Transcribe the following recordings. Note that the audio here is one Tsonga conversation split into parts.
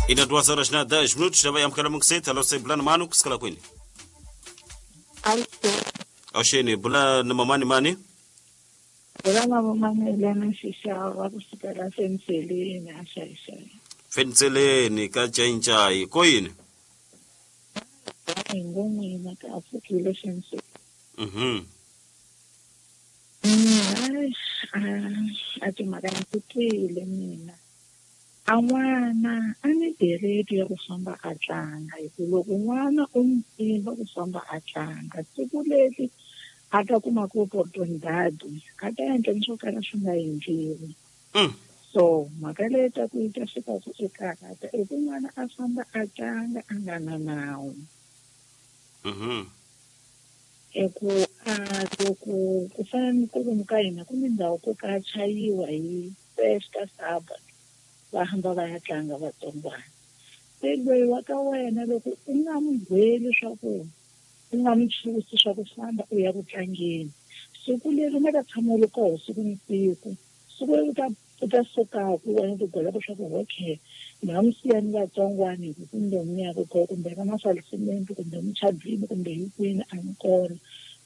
Ina 2 horas na 10 minutos, já vai amukela mungiseti. Alo, se bulana mani kusikala kwini? Awuxeni, bula na mamani mani? Bula na mamani Elena Xixava kusukela Fenseleni a Xaixai. Fenseleni ka Jainjai, ko yini? Hi ngo n'wina ka pfukile Fenseleni. A timhaka ndzi twile mina. A n'wana a ni dereti ya ku famba a tlanga, hi ku loko n'wana u n'wi pimba ku famba a tlanga, siku leri a ta kuma ku oportunidade a ta endla ni swo kala swi nga endliwi. So mhaka leyi ta ku yi ta fika ku i karhata i ku n'wana a famba a tlanga a nga na nawu. I ku a loko ku fana ni kwalomu ka hina ku ni ndhawu ko ka chayiwa hi festa Sabbath, va hamba va ya tlanga vatsongwana. Se loyi wa ka wena loko u nga n'wi gweli swa ku u nga n'wi chusi swa ku famba u ya ku tlangeni, siku leri u nga ta tshama u ri koho siku ni siku, siku leri u ta sukaku wena u ti gwelaka swa ku okay ni nga n'wi siya ni vatsongwana hi ku kumbe ni ya ku koho kumbe ka masalisimenti kumbe muchadwini kumbe hi kwini a ni kona,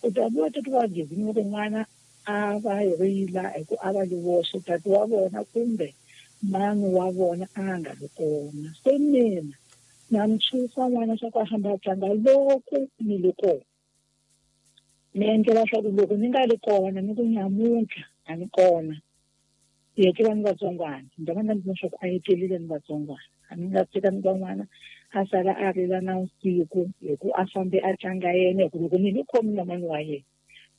u ta vuya tati wa gezini loko n'wana a va rila hi ku a va li voxe, tati wa vona kumbe mani wa vona a nga ri kona. Se mina na mi chusa n'wana swa ku a famba a tlanga loko ni li kona, ni endlela swa ku loko ni nga ri kona ni ku nyamuntlha a ni kona, hi etlela ni vatsongwana, ni ta va ni swa ku a etlelile ni vatsongwana, a ni nga tshika ni van'wana a sala a rila na vusiku hi ku a fambe a tlanga yena, hi ku loko ni ni khomi na mani wa yena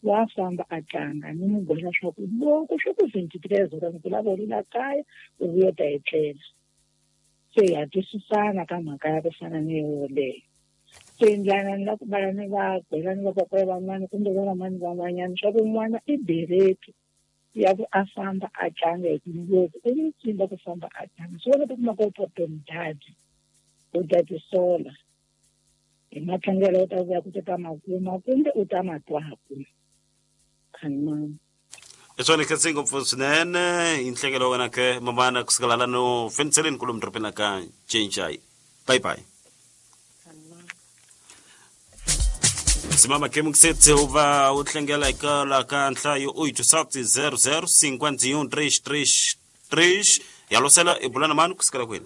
wa famba a tlanga, ni n'wi gwela swa ku loko swi ku 23 horas ni ku lava u rila kaya u vuya u ta etlela. Se ha twisisana ka mhaka ya ku fana ni yoleyo. Se ndlana ni la ku vala ni va gwela ni vapapa van'wana kumbe va vamani van'wanyana swa ku n'wana i bereti ya ku a famba a tlanga, hi ku loko u n'wi tsimba ku famba a tlanga swi vona ku kuma ku oportunidade u ta tisola hi matlangelo u ta vuya ku ta makuma kumbe u ta matwaku. Khanimani. I swona khense ngopfu swinene hi nhlekelo wa wena ke mamana kusukela lano Fenseleni kolomu dorobeni la ka Cenjai. Bye bye. Simama ke mungisetse u va u tlangela eka la ka nhlayo 8700 51 333 ya losela i bulana mani kusukela kwini?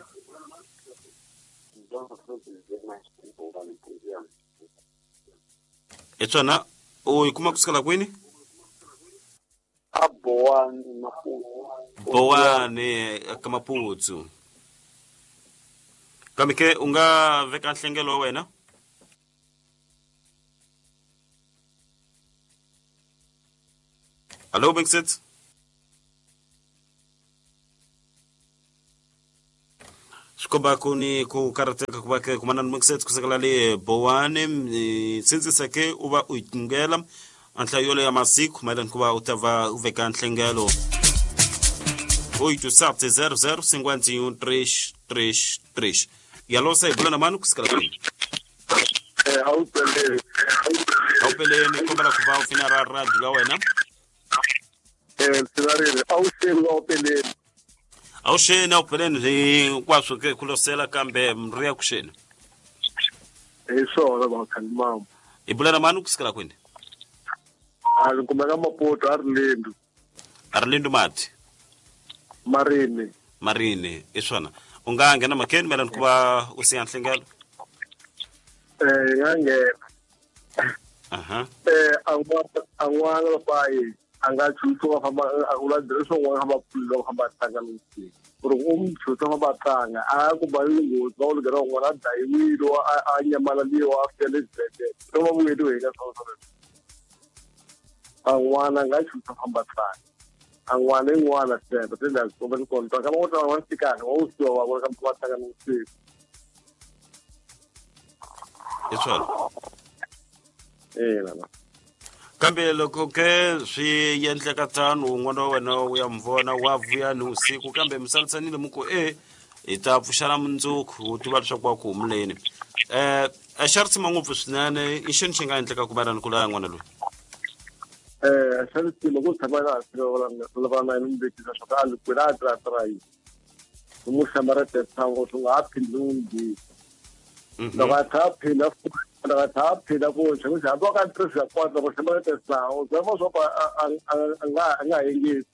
I swona u yi kuma kusukela kwini? A Bowani Maputsu. Bowani ka Maputsu. Kambe ke u nga veka nhlengelo wa wena? Hallo Bengset. Swi komba ku ni ku karhateka ku va ke kumana ni Bengset kusukela le Bowani, sindzisa ke u va u yi tingela a nhlayo yoleyo ya masiku mayelana ku va u ta va u veka nhlengelo 87 00 51 333 yalosa hi bula na mani kusukela kwini? Awupeleni. Awupeleni, kombela ku va u pfina ra radio ya wena. Swi awuxeni awupeleni. Awuxeni awupeleni hinkwaswo ke ku losela kambe ri ya kuxeni. Hi swona vakhalimama. Hi bula na mani kusukela kwini? A ni kumeka Maputo a ri Lindu. A ri Lindu mati? Marini. Marini, i swona. U nga nghena makeni mayelana ku va u siya nhlengelo? Hi nga nghena. A n'wana papayi a nga chusa wa famba a vula dress wa famba pfulile wa famba tlanga lowu. Ku ri u n'wi chusa famba tlanga a ku ba nghozi va ku lugera n'wana a dayiwile a nyamalaliwa a fika le xibedhlele. Se va vuyeriwe hi ka swona swoleswo. A n'wana a nga chusa famba tlanga. A n'wana i n'wana sweswo se la komba ni kona. Kama u ta n'wana tikana wa u siwa wa vona ka va tlanga ni. I swona. Ina. Kambe loko ke swi endleka tano n'wana wa wena u ya mi vona wa vuya ni vusiku kambe mi salisanile mi ku e hi ta pfuxana mundzuku u tiva leswaku wa ku humuleni. A xa ri tshima ngopfu swinene i xini xi nga endleka ku va ni ku laya n'wana loyi? Xa ri tshima ku tshama na hansi va na yena mi vekisa swa ku a li kwini a tira tira yini. Ni n'wi hlamarete ngo swi nga ha phindi n'wi bihi. Loko a tlha a phinda loko a tlha a phinda ku xi hambi wa ka tirhisa kwata loko hlamarete sango zama swa ku a nga yingisi.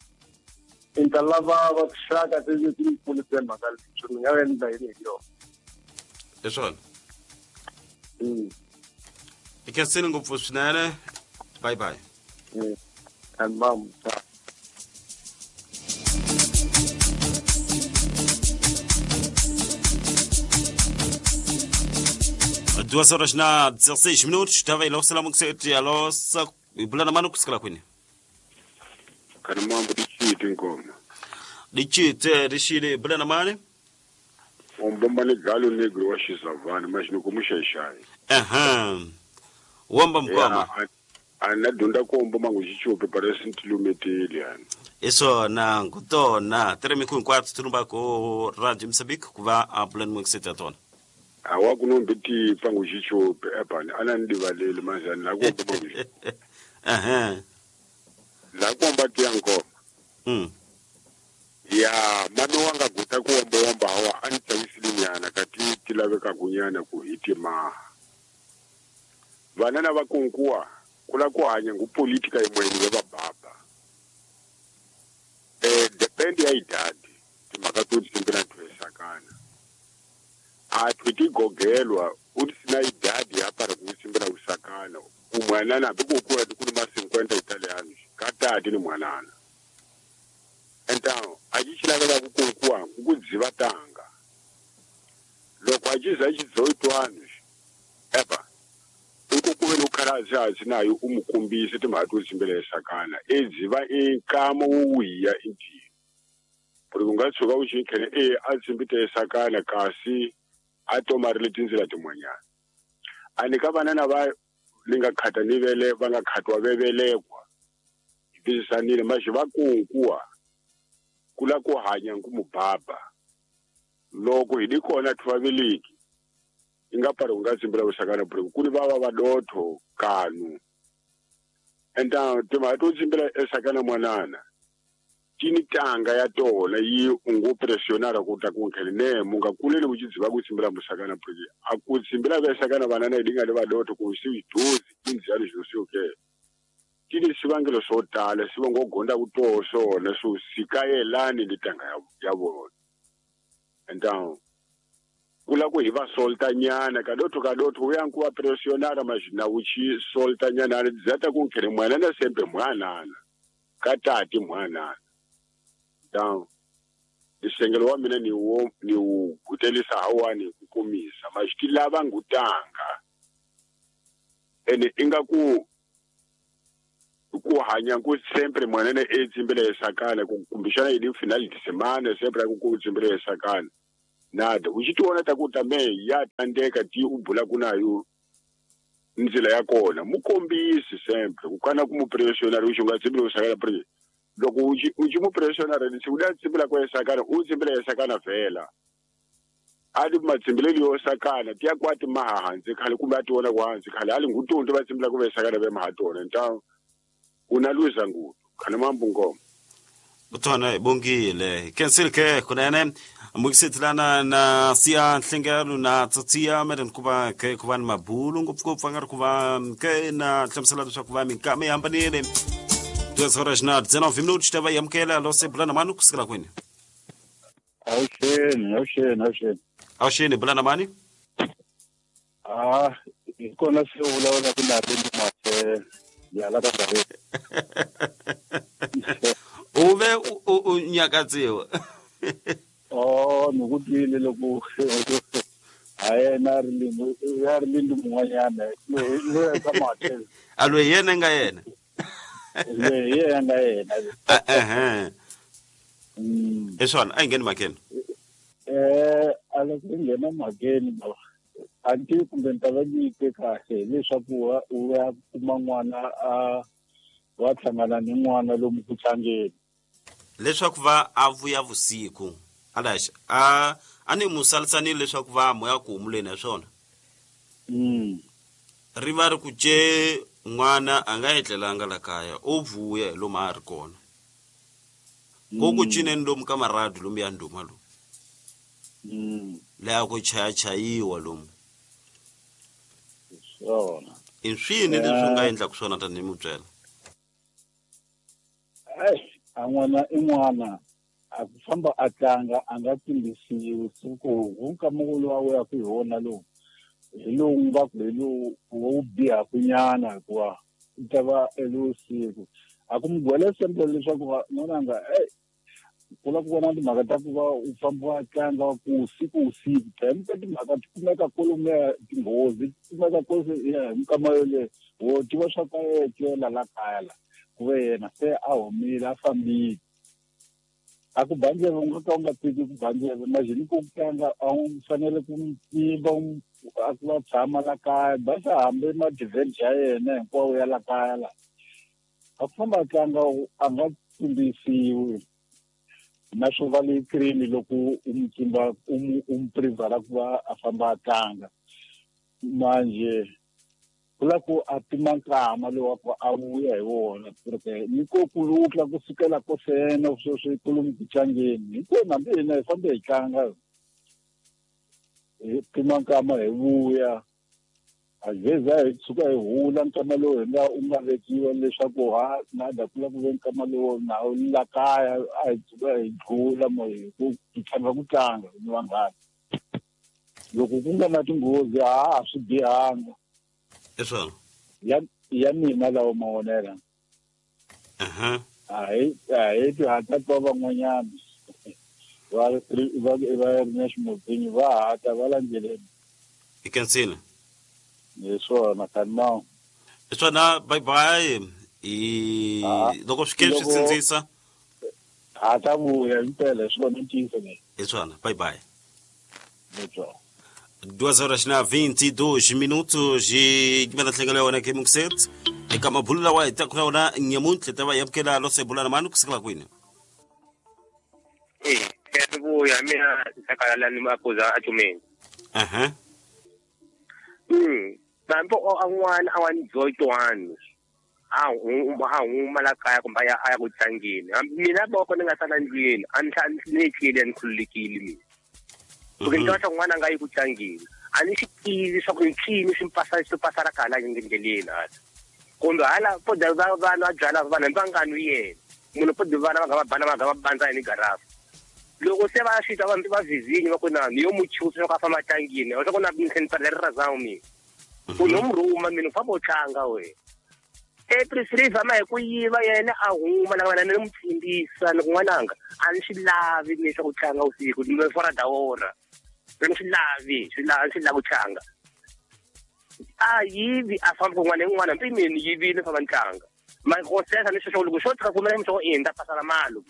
I ta lava va tinxaka ti ti pfunise mhaka leyi swi ni nga endla yini hi yona. Hi swona. I khensini ngopfu swinene. Bye bye. And mom. Duas horas na 16 minutos, tava ilo salamu kuseti alo sa ibulana manu kusikala kwini. Kana mambo dichite ngoma. Dichite dishile ibulana mani? Ombomba ni galo negro wa Xizavani mas ni kumuxexai. Aha. Womba mkoma. Ana dunda komba mangu xichupe parece ntilumeteli yani. Isso na ngutona teremi ku 4 tulumba ko Radio Mozambique kuva abulana mu kuseti atona. Awa kunombe pangu xichupe ebani ana ndivaleli manjani la komba mangu. Aha. La komba tiyanko. Ya mano wanga guta kuomba omba hawa anitsawisilinyana kati tilaveka kunyana ku hitima. Vanana vakunkuwa kula kuhanya ngupolitika imweni ya bababa. Depend ya idadi timaka tutsimbela twesakana. Atwitigogelwa utsina idadi apara kutsimbela usakana. Umwanana bikukuwa kuluma 50 Italiano katati ni mwanana. Então achichilaveka kukunkuwa kukudziva tanga. Loko achiza 18 anos eba ukukuve nukhalazi nayo umukumbise timhaka to tsimbela esakana edziva enkamo wuwiya inti buri kunga tshuka u xinkhene e a tsimbite esakana kasi a tomarile tindzela tin'wanyana ani ka vanana va ni nga khata ni vele va nga khatwa vevelekwa tisisanile maxi va kunkuwa kula ku hanya nkumubaba loko hi di kona thuvaveleki inga pari unga tsimbela usakana buri kuni vava vadotho kanu enta timhaka to tsimbela esakana mwanana tini tanga ya tona yi ungo pressionara ku ta ku nkhele ne munga kulele uchidziva ku tsimbela musakana buri a ku tsimbela vesakana vanana idinga le vadotho ku si dozi inziyani zvosioke tini sivangelo swo tala swi ngo gonda ku toho swona swo sikayelani ni tanga ya vona. Então kula ku hi va solta nyana kadotho kadotho uya nkuva pressionara mazvina uchi solta nyana ani dzata ku nkhele mwanana sembe mwanana katati mwanana. Então isengelo wa mina ni wo ni wu gutelisa hawani ku kumisa maxiti lava ngutanga ene inga ku hanya ku sempre mwanene e tsimbele esakana ku kumbishana idi final de semana sempre ku tsimbele esakana nada uchitiona takuta me ya tandeka ti ubula kunayo nzila ya kona mukombisi sempre kukana kumupressionara uchinga tsimbele usakana pre loko uchi mupressionara ni uda tsimbela kwa esakana u tsimbele esakana vhela ali matsimbeleli yo sakana tiya kwati mahahanzi khale kumbe ationa kwahanzi khale ali ngutonto va tsimbela ku vesakana ve mahatona então unaluza ngudu khale mambo ngoma Utona bongile cancel ke kunene mukisetlana na siya nhlengelo na tsatsia meren kuba ke kuba mabulu ngopfu nga ri kuva ke na hlamusela leswaku va minkama yi hambanile 2 horas na 19 minutos tava yamukela lo se bulana mani kusukela kwini. Awuxeni. Awuxeni bulana mani? Ah, hi kona se vulavula ku na ri mase ya la ka Uve u nyakatsiwa. Oh, ni ku twile loko a yena ri lindu ya ri lindu mun'wanyana loyi ka mate. A loyi yena nga yena. Loyi yena nga yena. Ehe. Eswana a yi ngheni makeni. A loko yi nghena makeni ba. A ni kumbe ni ta va ni twe kahle leswaku u ya kuma n'wana a wa hlangana ni n'wana lomu ku tlangeni. Leswaku va a vuya vusiku alaxa a ni musalisanile leswaku va moya ku humuleni ha swona. Ri va ri ku ce n'wana a nga etlelanga la kaya o vuya lomu a ri kona. Ko ku cineni lomu ka maradu lomu ya ndhuma lomu. Leya ku chayachayiwa lomu. Swona. I swini leswi u nga endlaka swona tanihi mutswela? Ai, a n'wana i n'wana a ku famba a tlanga a nga tsimbisiwi siku ku nkama lowu a wuyaka hi wona lowu hi lowu nga ku hi lowu wo bihaku nyana hikuva u ta va elusiku a ku mi gwele semple leswaku n'wananga ei ku la ku vona timhaka ta ku va u famba wa tlanga ku usiku usiku time ka timhaka ti kumeka kwalomuya tinghozi ti kumeka ya hi minkama yoleyo wo tiva swa ku a etlela la kaya la ku ve yena se a humile a fambile a ku ba ndleve u nga ka u nga tiki ku ba ndleve imagine ku tlanga a wu fanele ku n'wi pimba a ku va tshama la kaya basa hambi ma-divenge ya yena hinkwawo ya la kaya la a ku famba a tlanga a nga tsimbisiwi na swo va le cream loko u n'wi tsimba u n'wi privhala ku va a famba a tlanga manje ku la ku a pima nkama lowu wa ku a vuya hi wona porque ni ko ku lutla ku sukela ko sena sweswi kolomu ku tlangeni hinkwenu hambi hina hi fambe hi tlanga hi pima nkama hi vuya a zeza hi tshuka hi hula nkama lowu hi nga u nga vekiwa leswaku ha na da ku la ku ve nkama lowu na la kaya a hi tshuka hi dlula mo hi ku tlanga ku tlanga ni vanghana loko ku nga na tinghozi a swi bihanga. I swona ya mina lawa mavonelo. A hi ti hatla twa van'wanyana va va ri na ximutini va hatla va landzeleni. I kensile. Hi swona kanma. I swona bye bye. I loko swi ke swi sindzisa. Ha ta vuya impela hi swona ntiyiso leyi. I swona bye bye. Hi 2h22 minutos e kimela tlhengelo ya wena ke mukset eka mabulu lawa hi taka na wona nyamuntlha ta va yamukela lo se bulana mani kusukela kwini? Eh, vuya mina nhlakala ni makuza a chumeni. Aha. Bambo a n'wana a wa ni 21. A huma la kaya kumbe a ya ku tlangeni. Mina loko ni nga sala ndlwini, a ni tlile ni khululekile mina. Porque ni twa n'wana nga yi ku tlangeni. A ni swi tivi swa ku ncini swi mpasa swi pasala khala ndleleni hala. Kumbe hala po da va vanhu va byala vanhu va nga nwi yena. Munhu po da vana va nga va bana va nga va bandza ni garafu. Loko se va fika va va vizinyi va ku na ni yo muchusa swa ku a famba tlangeni. Wa ku na ni tlhela ri razama mina. Ku no murhuma mina famba u tlanga we. April ma hi ku yiva yena a huma la wena ni n'wi tsimbisa ni ku n'wananga a ni swi lavi ni swa ku tlanga usiku ni fora da wona. Ni swi lavi swi lavi swi lava ku tlanga. A yivi a famba kun'wana ni n'wana mpi mina ni yivile famba ni tlanga. Ma ko sesa ni sweswo loko xo tshika kumela mi swa ku endla pasala malo.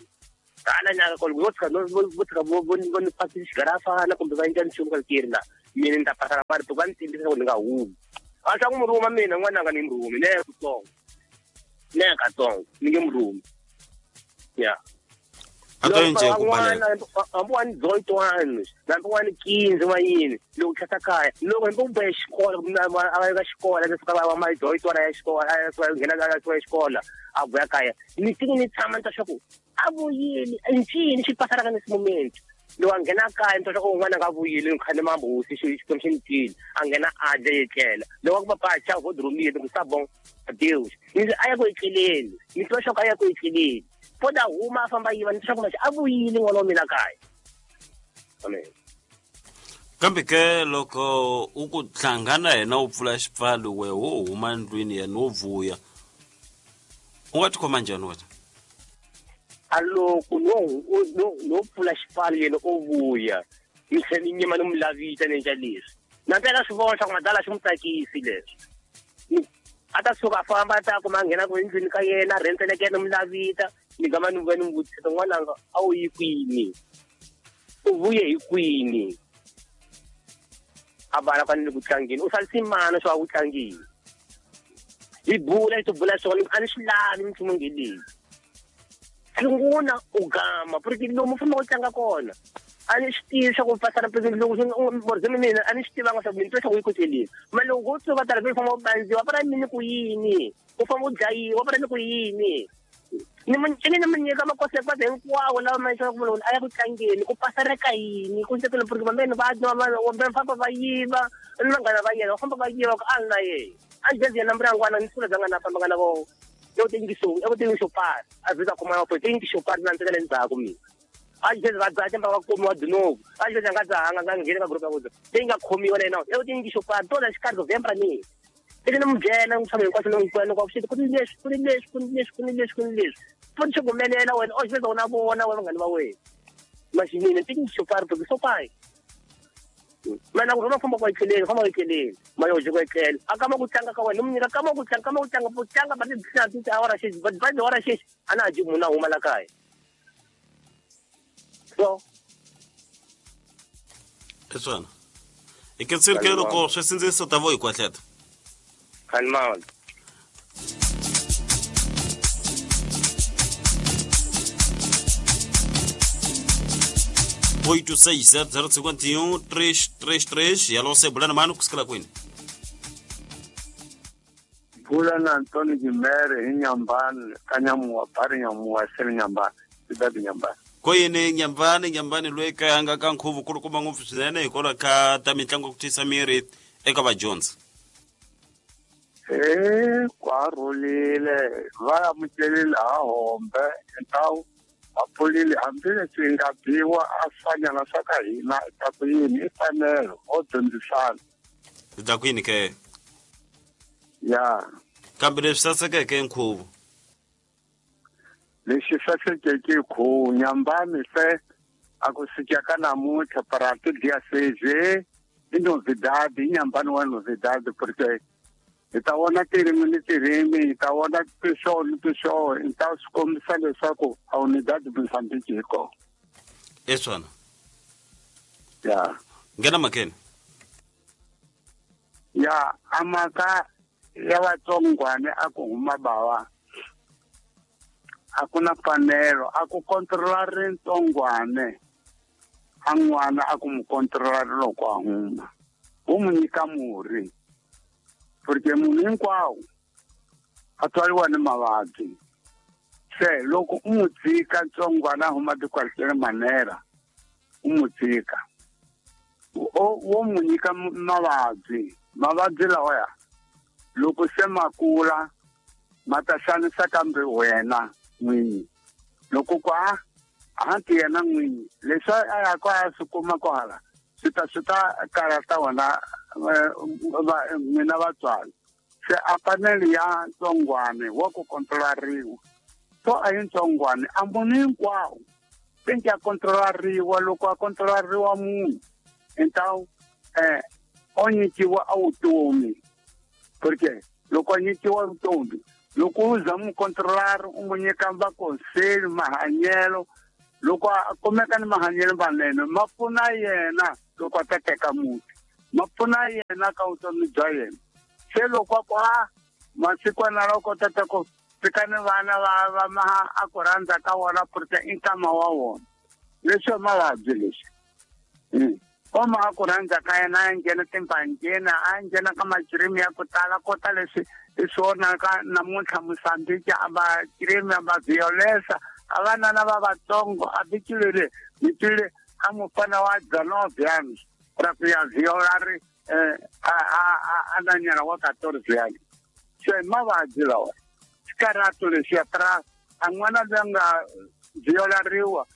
Hala nyaka ko loko tshika no vo tshika vo ni pasi xigarafana kumbe va endla nchumu ka kiri la mina ni ta pasala mali to va ni tsimbisa ku ni nga humi. A swa ku murhuma mina n'wananga ni murhumi ne kutsongo. Ne katsongo ni nge murhumi. Ya. A to nje ku baleka. Hambi wa ni 21, hambi wa ni 15 wa yini loko tlhata kaya loko hambi u bohe xikolo a va ka xikolo a suka va ma 21 ya xikolo a suka nghena ka xikolo a vuya kaya ni tiki ni tshama ni ta swa ku a vuyile ncini xi pasala ka ni moment loko a nghena kaya ni ta swa ku un'wana nga vuyile ni khane mambusi xikwembu xi ni twile a nghena a dya etlela loko a ku papa cha vo drumile ku sa bon Deus ni a ya ku etleleni ni twa swa ku a ya ku etleleni po da huma a famba yiva ni twa ku a vuyile n'wana wa mina kaya. Amen. Kambe ke loko u ku hlangana yena u pfula xipfalo we wo huma ndlwini yena wo vuya u nga tikhoma njhani wena? A loko no pfula xipfalo yena o vuya ni tlhela ni nyima ni n'wi lavita ni endla leswi na mpela swi vona swa ku madala xi n'wi tsakisi leswi a ta suka a famba a ta kuma a nghena ku endlwini ka yena a rhendzeleka yena n'wi lavita ni gama ni vuya ni n'wi vutisa n'wananga a wu yi kwini u vuye hi kwini a vala kwani le ku tlangeni u salisi mani swa ku tlangeni hi bula hi tibula swona a ni swi lavi minchumu nge leyi sungula u gama porque lomu u famba u tlanga kona a ni swi tivi swa ku pasala loko morhizemi mina a ni swi tivanga swa ku mina twa swa ku yi koteleni ma loko wo tshuka tala u famba u bandziwa para mini ku yini u famba u dlayiwa para ni ku yini. Ni ni nyika makosekwase hinkwawo lawa ma leswaku munhu a ya ku tlangeni ku pasareka yini ku nsekelo porque vambeni va va famba va yiva ni vanghana va yena va famba va yiva ku a na yena a jezi yena mbirangwana ni sula bya na famba nga na vo yo tingiso yo tingiso pari a vita kuma yo tingiso pari na nsekele ndzhaku mina a jezi va dzaha timba va kumiwa dinovu a jezi nga dzahanga nga ngheni ka group ya kudzo leyi nga khomiwa na yena yo tingiso pari to la xikarhi November ni ni n'wi byela n'wi tshama hinkwaswo ni n'wi kwena kwa ku ni leswi ku ni leswi ku ni leswi ku ni leswi ku ni leswi futhi swi humelela wena o xiveza wena vona wena vanghani va wena maxinini tingiso pari porque so pai mana ku rhoma famba ku etleleni famba ku etleleni mayoje ku etlela a kama ku tlanga ka wena ni nyika kama ku tlanga kama ku tlanga ku tlanga ba ti ti awara xexi ba ti awara xexi a na ha ji munhu a huma la kaya so i swona i kensile ke loko swi sindziso ta vo hi kwahleta khanimali oito seis zero zero cinquenta e um três três três. Alô, você bulana mano kusukela kwini? Bulana Antônio Guimere Nyambane kanyamuwa pari nyamuwa sele Nyambane cidade Nyambane. Koyini Nyambane Nyambane loyi kayanga ka nkhuvo kulukumba ngopfu swinene hikwalaho ka ta mitlangu ku tisa miri eka vadyondzi. Kwa rhulile va amukelile ha hombe ntawu va pfulile hambileswi hi nga biwa a swanyana swa ka hina ta ku yini i fanelo o dyondzisana. Ta ku yini ke? Ya. Kambe leswi sasekeke nkhuvo. Lexi sasekeke nkhuvo Nyambane se a ku sika ka namuntlha para tu dia seje i novidade i Nyambane wa novidade porque hi ta vona tirimi ni tirimi hi ta vona tishow ni tishow hi ta swi kombisa leswaku a unidade Mozambique hi kona. I swona. Ya. Nghena makeni. Ya a mhaka ya vatsongwane a ku huma bawa a ku na mfanelo a ku controla ri ntsongwane a n'wana a ku mu controla ri loko a huma wu mu nyika murhi porque munhu hinkwawo a tswariwa ni mavabyi se loko u n'wi tshika ntsongwana a huma tikwaliteni manera u n'wi tshika wo n'wi nyika mavabyi mavabyi lawaya loko se ma kula ma ta xanisa kambe wena n'winyi loko ku a hanti yena n'winyi leswi a ya ku a swi kuma kwahala swi ta karata wena n'wina vatswari se a fanele ya ntsongwane wa ku kontrolariwa so a yi ntsongwane a munhu hinkwawo penke a kontrolariwa loko a kontrolariwa munhu ntawu o nyikiwa a vutomi porque loko a nyikiwa vutomi loko u za mu kontrolari u mu nyika vakonseli mahanyelo loko a kumeka ni mahanyelo manene ma pfuna yena loko a ta teka muti ma pfuna yena ka vutomi bya yena se loko a ku a masikwana loko tata ku fika ni vana va va a ku rhandza ka wona porque i nkama wa wona leswi mavabyi leswi oma a ku rhandza ka yena a nghena timbanjeni a nghena ka makirimi ya ku tala kota leswi i swona ka namuntlha Mozambique a makirimi a ma violesa a vanana va vatsongo a vikile mi twile a mufana wa 19 anos ra ku ya viola ri a na nyana wa 14 anos se mavabyi lawa xikarato lexiya tra a n'wana loyi a nga violariwa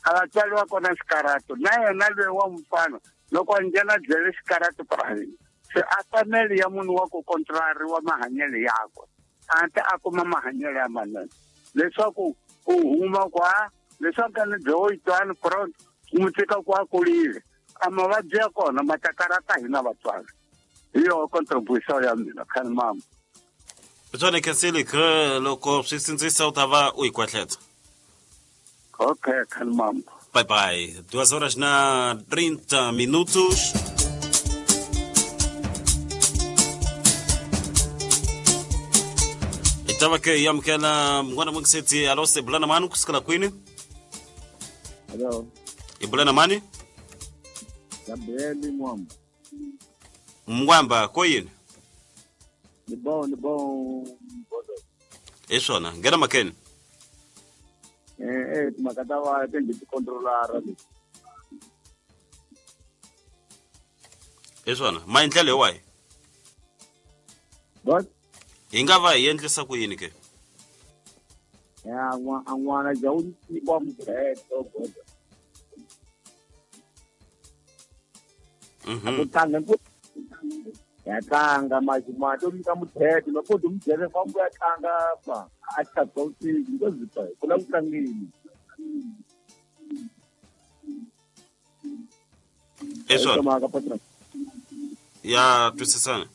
a va tswariwa kona xikarato na yena loyi wa mufana loko a nghena jele xikarato private se a fanele ya munhu wa ku kontrolariwa mahanyelo yakwe a ta a kuma mahanyelo ya manene leswaku u huma kwa leswaku a ni dyoyitwani front n'wi tshika ku a kurile a mavabyi ya kona ma ta karata hina vatswari hi yoho contribution ya mina khani mama. Swona khensile ke loko swi sindzisa u ta va u hi kwahletsa. Okay, khani mama. Bye bye. 2 horas na 30 minutos. Itava ke yamukela mngwana mwengiseti alo se bulana mani kusukela kwini? Hello. Ibulana mani? Gabriel Mwamba. Mwamba koyini? Ni bom. Isona, ngena makeni. Timhaka ta vana ti ndzi ti-controlara leti. Hi swona maendlelo hi wahi? What? Hi nga va hi endlisa ku yini ke? Ya a n'wana ja wu nyikiwa mudredo goda. Ku tlanga ku ya tlanga mati u nyika mudredo loko u mudredo famba ya tlanga pa a tlhaka usiku because pa ku la ku tlangeni. Hi swona. Ya twisisana.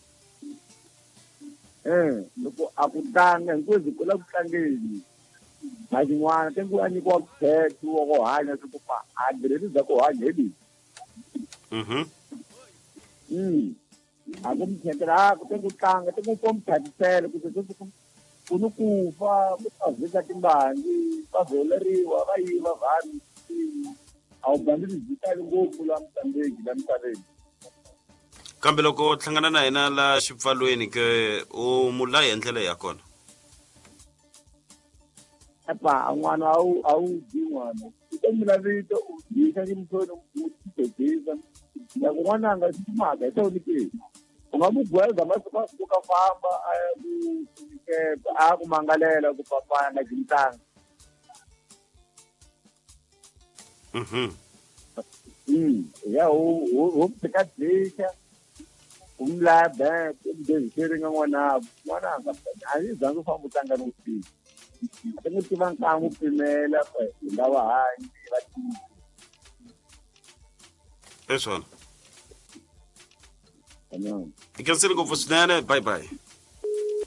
Loko a ku tlanga hinkwenu ku la ku tlangeni maxin'wana te ku a nyikiwa muthetho wa ku hanya swi ku pa adirese bya ku hanya hi leyi. A ku muthetela a ku te ku tlanga te ku ko muthatisela ku te ku ni ku fa ku ta vhika timbangi va vholeriwa va yiva vanhu a wu bandzi byi tali ngopfu la mutambeki la misaveni. Kambe loko u hlangana na yena la xipfalweni ke u mu laya hi ndlela ya kona? Epa n'wana a wu dyi n'wana u ta mula vito u dyisa ximthweni u tidyisa loko n'wana a nga swi timhaka hi tona ke u nga mu gweza masiku a suka famba a ya ku a ku mangalela ku papa nga dyi ntanga. Ya u tshika dyisa u mu laya back u mu deziseringa n'wanako n'wana a nga a yi zangi u famba u tlanga ni vusiku a ti n'wi tiva nkangu pimela hi nga va hanyi va tivi. Hi swona. I khensile ngopfu swinene. Bye bye.